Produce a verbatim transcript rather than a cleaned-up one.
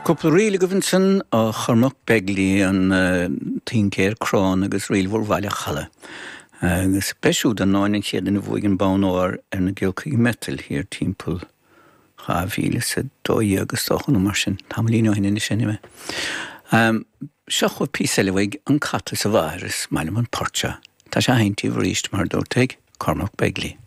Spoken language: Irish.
Cúpla ríl agaibh ansin ó Chormac Begley an uh, tincéir crann agus ríl mhór Bhaile Challa. Agus b'é siúd an an chéad duine a bhuaigh an bonn óir ar na giolcaí miotail thiar timpeall dhá mhíle is a dó agus dócha nó mar sin tamaillín ó shin sin mé. Um, seo chugaibh píosa eile uaidh an cat is a mháthair is maith liom an port seo. Tá sé haintí arís mar dúirt Cormac Begley.